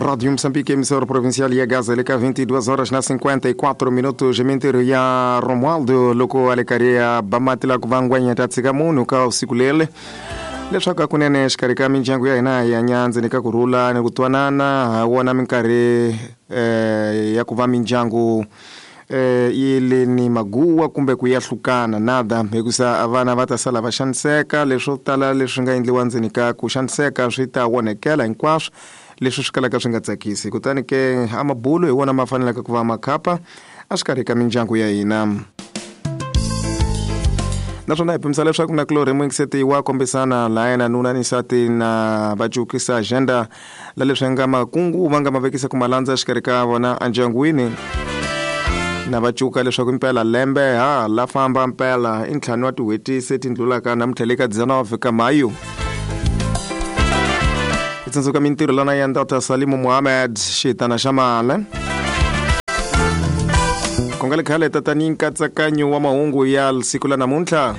Rádio Moçambique, emissora provincial ya Gaza, leka 22 horas na 54 minutos. Mintirho ya Romualdo loko a le karhi a ba mati la ku va ngwenya ta tshika munhu ka usiku lele leswaku hakunene exikarhi ka mindyangu ya hina hi hanya ndzeni ka ku rhula ni ku twanana ha wona minkarhi ya ku va mindyangu yi le ni maguwa kumbe ku yahlukana nada hikusa vana va ta sala va xaniseka. Leswo tala leswi nga endliwa ndzeni ka ku xaniseka swi ta onhekela hinkwaswo leswi swi kalaka swi nga tsakisi. Kutani ke a mabulo hi wona ma faneleke ku va makhapa exikarhi ka mindyangu ya hina. Naswona hi pimisa leswaku na kulorhi muyingiseti wa kombisana laha yena nuna ni nsati na va cukisa agenda la leswi nga makungu va nga ma vekisa ku malandza exikarhi ka vona endyangwini, na va cuka leswaku impela lembe ha la famba mpela i ntlhanu wa tin'hweti se ti ndlulaka namuntlha le ka 19 ka Mayu. Hi tsundzuka mintirho lana ya Ndata Salimu Muhammad xitana xa male ku nga le khale tatani nkatsakanyo wa mahungu ya siku la namuntlha.